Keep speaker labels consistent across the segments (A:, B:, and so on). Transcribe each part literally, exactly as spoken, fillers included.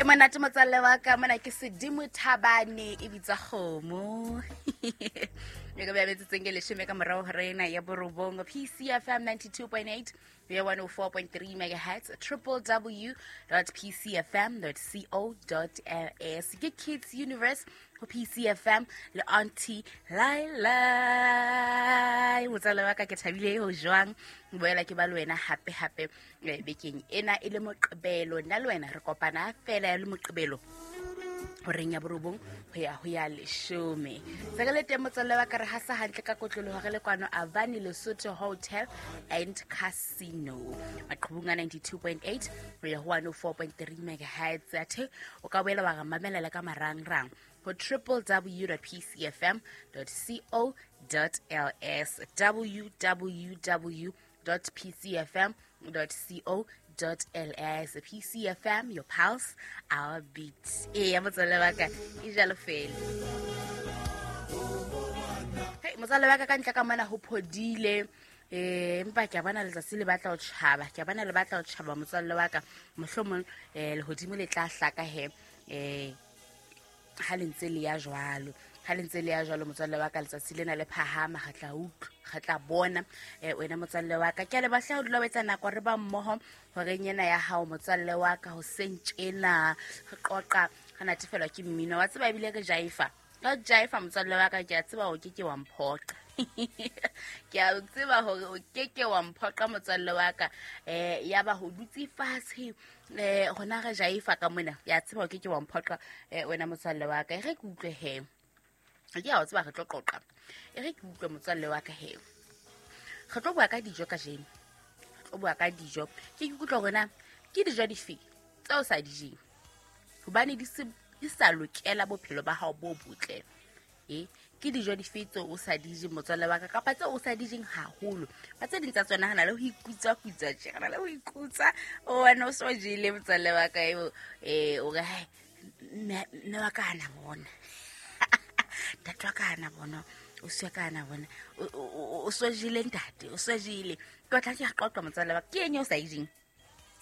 A: Monate motswalle wa ka mona ke Sedimo Thabane e bitsa kgomo. E ka ba metsetseng ke leshome ka morao ho rena ya borobong P C F M ninety-two point eight ya one oh four point three megahertz triple w dot p c f m dot co dot l s. Ke Kids Universe ho P C F M le Auntie Laila. Motswalle wa ka ke thabile ho jwang boela ke ba le wena hape hape bekeng ena e le Moqebelo. Nna le wena re kopana fela le Moqebelo horeng ya borobong ho ya ho ya leshome. Se re le teng motswalle wa ka re hasa hantle ka kotloloho re le kwano Avani Lesotho Hotel and Casino. Maqhubung a ninety-two point eight ho ya ho one oh four point three megahertz. Athe o ka boela wa re mamela le ka marangrang ho triple w dot p c f m dot co dot l s, w w w dot p c f m dot co dot l s. P C F M, your pulse, our beat. E ya motswalle wa ka e jalo fela. Hey motswalle wa ka ka ntle ka mona ho phodile. Eh empa ke a bona letsatsi le batla ho tjhaba. Ke a bona le batla ho tjhaba motswalle wa ka. Mohlomong eh lehodimo le tla hlaka he eh ha le ntse le ya jwalo. Ha le ntse le ya jwalo motswalle wa ka letsatsi lena le phahama re tla utlwa, re tla bona eh wena motswalle wa ka. Ke a le batla ho dula o etsa nako re ba mmoho horeng ena ya hao motswalle wa ka ho seng tjena re qoqa re natefelwa ke mmino wa tseba ebile re jaifa. Ka jaifa motswalle wa ka ke a tseba o ke ke wa mphoqa. Ke a tseba hore o ke ke wa mphoqa motswalle wa ka. Eh ya ba ho dutse fatshe eh hona re jaifa ka mona. Ya tseba o ke ke wa mphoqa eh wena motswalle wa ka. E re ke utlwe he. Ke a o tseba re tlo qoqa. E re ke utlwe motswalle wa ka he. Re tlo bua ka dijo kajeno. Re tlo bua ka dijo. Ke ikutlwa hore na ke dijo dife tseo sa di jeng. Hobane di se di sa lokela bophelo ba hao bo botle. Eh ke dijo dife tseo o sa di jeng motswalle wa ka kapa tseo o sa di jeng haholo. Ba tse ding tsa tsona hana le ho ikutswa kutswa tje, hana le ho ikutswa. O wena o so jele motswalle wa ka eo eh o re hai mme wa ka hana bona. Ntate wa ka hana bona, o se ka hana bona. O so jele ntate, o so jele. Ke tla ke qoqa motswalle wa ka. Ke eng eo o sa e jeng?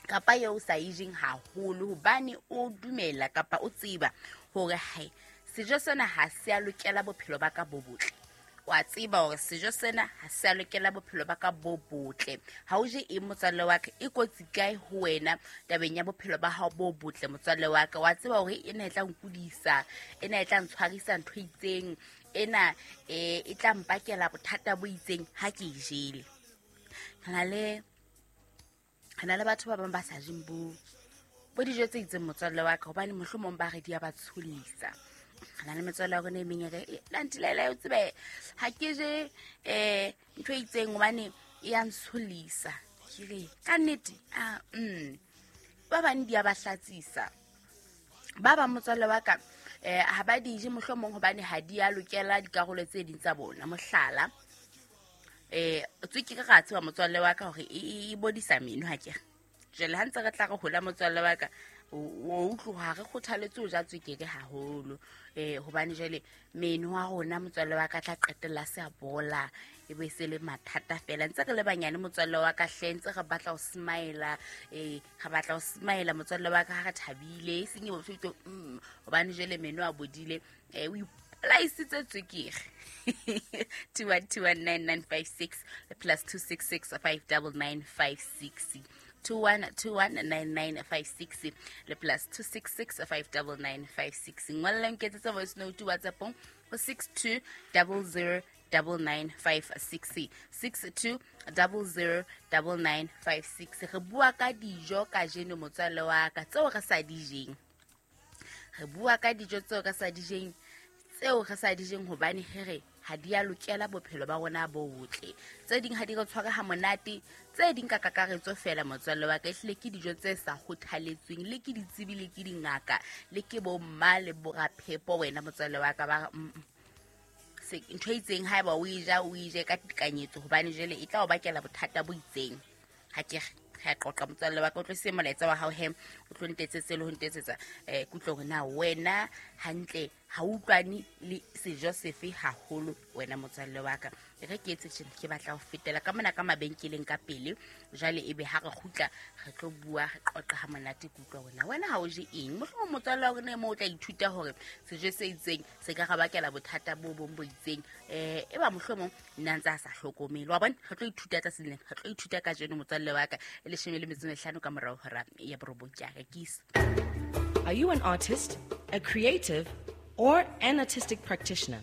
A: Kapa eo o sa e jeng haholo hobane o dumela kapa o tseba hore hai sejo sena ha se a lokela bophelo ba ka bo botle. Wa tseba hore sejo sena ha se a lokela bophelo ba ka bo botle. Ha o je eng motswalle wa ka e kotsi kae ho wena tabeng ya bophelo ba hao bo botle motswalle wa ka. Wa tseba hore ena e tla nkudisa, ena e tla ntshwarisa ntho e itseng, ena e e tla mpakela bothata bo itseng ha ke e jele. Re na le re na le batho ba bang ba sa jeng bo bo dijo tse itseng motswalle wa ka hobane mohlomong ba re di a ba tsholisa. Re na le metswalle ya rona e meng e re Auntie Laila o tsebe ha ke je eh ntho e itseng hobane e ya ntsholisa. Ke re ka nnete ah mm ba bang di a ba hlatsisa. Ba bang motswalle wa ka eh ha ba di je mohlomong hobane ha di a lokela dikarolo tse ding tsa bona. Mohlala eh tswekere ra tseba motswalle wa ka hore e bodisa meno ha ke re. Jwale ha ntse re tla re hola motswalle wa ka o utlwa re kgothaletse ho ja tswekere haholo eh hobane jwale meno wa rona motswalle wa ka tla qetella se a bola e be se le mathata fela. Ntse re le banyane motswalle wa ka hle ntse re batla ho smile eh re batla ho smile motswalle wa ka ha re thabile e seng e botho mm hobane jwale meno a bodile eh o ipolaisitse tswekere. two one two one nine nine five six plus two six six five nine nine five six two one two one nine nine five six le plus two six six five nine nine five six. Ngolla nketsetse voice note WhatsApp ho six two zero zero nine nine five six six two zero zero nine nine five six. Re bua ka dijo kajeno motswalle wa ka tseo re sa di jeng. Re bua ka dijo tseo re sa di jeng tseo re sa di jeng hobane here ha di a lokela bophelo ba rona bo botle. Tse ding ha di re tshware ha monate, tse ding ka kakaretso fela motswalle wa ka ehlile ke dijo tse sa kgothaletsweng le ke ditsebi le ke dingaka le ke bo mma le boraphepo wena motswalle wa ka ba se ntho e itseng haeba o e ja o e je ka tekanyetso hobane jwale e tla o bakela bothata bo itseng. Ha ke re qoqa motswalle wa ka o tlo se molaetsa wa hao he o tlo ntetsetse le ho ntetsetsa eh kutlo hore na wena hantle ha utlwane le sejo sefe haholo wena motswalle wa ka. E re ke etse tjena, ke batla ho fetela ka mona ka mabenkeleng ka pele. Jwale ebe ha re kgutla re tlo bua re qoqa ha monate ke utlwa wena. Wena ha o je eng? Mohlomong motswalle wa rona mo o tla ithuta hore sejo se itseng se ka re bakela bothata bo bong bo itseng. Eh e ba mohlomong nna ntse a sa hlokomele. Wa bona re tlo ithuta tsa seleng. Re tlo ithuta ka jeno motswalle wa ka e leshome le metso e mehlano ka morao hora ya borobong ke a rekisa.
B: Are you an artist, a creative, or an artistic practitioner?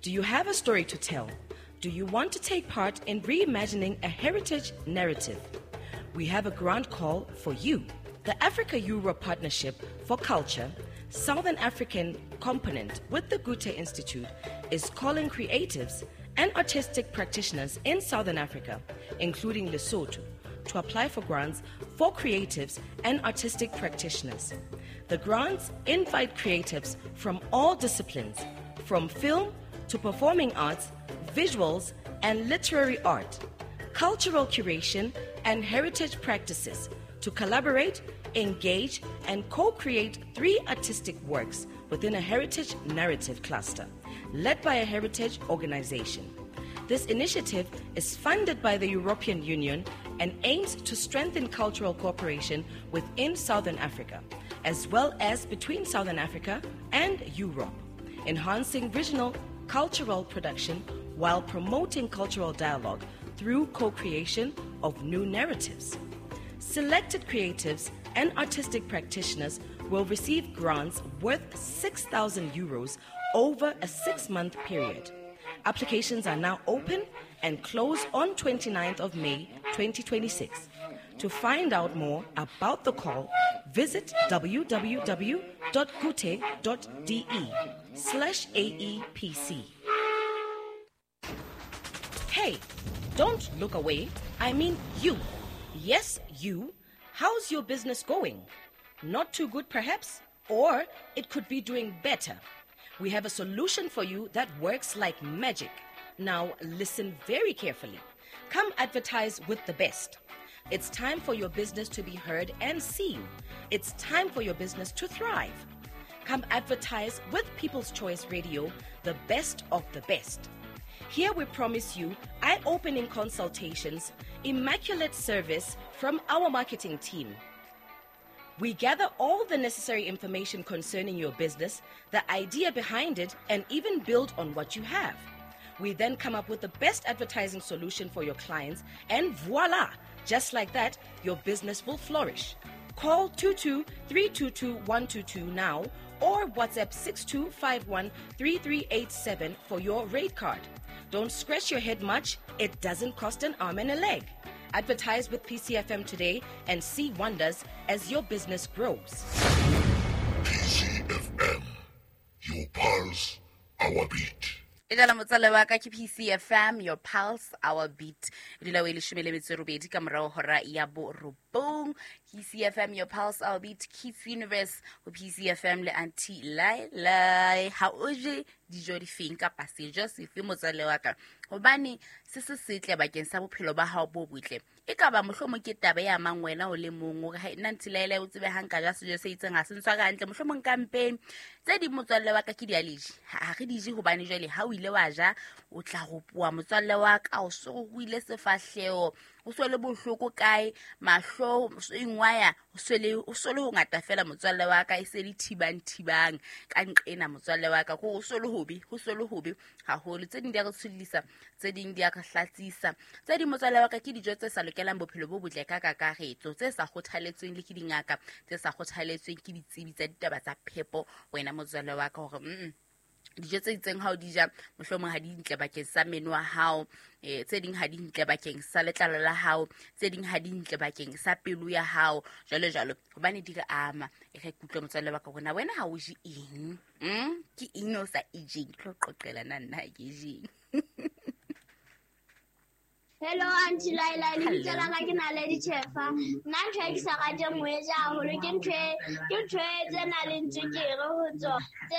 B: Do you have a story to tell? Do you want to take part in reimagining a heritage narrative? We have a grant call for you. The Africa-Europe Partnership for Culture, Southern African component with the Goethe Institute, is calling creatives and artistic practitioners in Southern Africa, including Lesotho, to apply for grants for creatives and artistic practitioners. The grants invite creatives from all disciplines, from film to performing arts, visuals and literary art, cultural curation and heritage practices to collaborate, engage and co-create three artistic works within a heritage narrative cluster led by a heritage organization. This initiative is funded by the European Union and aims to strengthen cultural cooperation within Southern Africa, as well as between Southern Africa and Europe, enhancing regional cultural production while promoting cultural dialogue through co-creation of new narratives. Selected creatives and artistic practitioners will receive grants worth six thousand euros over a six-month period. Applications are now open and close on twenty-ninth of May twenty twenty-six. To find out more about the call, visit w w w dot goethe dot de slash A E P C. Hey, don't look away. I mean you. Yes, you. How's your business going? Not too good, perhaps? Or it could be doing better. We have a solution for you that works like magic. Now, listen very carefully. Come advertise with the best. It's time for your business to be heard and seen. It's time for your business to thrive. Come advertise with People's Choice Radio, the best of the best. Here we promise you eye-opening consultations, immaculate service from our marketing team. We gather all the necessary information concerning your business, the idea behind it, and even build on what you have. We then come up with the best advertising solution for your clients, and voila! Just like that, your business will flourish. Call two two three two two one two two now or WhatsApp six two five one three three eight seven for your rate card. Don't scratch your head much, it doesn't cost an arm and a leg. Advertise with P C F M today and see wonders as your business grows.
C: P C F M, your pulse, our beat.
A: E jala motswalle wa ka, ke P C F M, your pulse, our beat. E dula o e leshome le metso e robedi ka morao hora ya borobong. P C F M, your pulse, our beat, Kids Universe ho P C F M le Auntie Lai. Ha o je dijo difeng kapa sejo sefe motswalle wa ka, hobane se se setle bakeng sa bophelo ba hao bo botle? E ka ba mohlomong ke taba e amang wena o le mong hore ha nna Auntie Lai, o tsebe ha nka ja sejo se itseng ha se ntshware hantle mohlomong ka mpeng. Tse ding motswalle wa ka ke di-allergy, ha re di je hobane jwale ha o ile wa ja o tla ropoa motswalle wa ka, o so o ile sefahleho, o so le bohloko kae, mahlo o so ingwaya, o so le o so le ho ngata fela motswalle wa ka, e se le thibang thibang ka nqena motswalle wa ka, ko o so le hobe, ho so le hobe haholo. Tse ding di a re tshollisa, tse ding di a re hlatsisa, tse ding motswalle wa ka ke dijo tse sa lokelang bophelo bo botle ka kakaretso, tse sa kgothaletsweng le ke dingaka, tse sa kgothaletsweng ke ditsebi tsa ditaba tsa phepo wena motswalle wa ka, hore mm dijo tse itseng ha o di ja mohlomong ha di ntle bakeng sa meno wa hao, eh tse ding ha di ntle bakeng sa letlalo la hao, tse ding ha di ntle bakeng sa pelo ya hao, jwalo jwalo, hobane di re ama. E re kutlwe motswalle wa ka rona, wena ha o je eng? mm ke eng o sa e jeng? Ke tlo qoqela na nna ha ke jeng.
D: Hello Auntie Laila, lebitso la ka ke Naledi Chefa. Nna ntho e ke sa rateng ho e ja haholo ke ntho e ke ntho e tse nang le tswekere ho tsona. Tse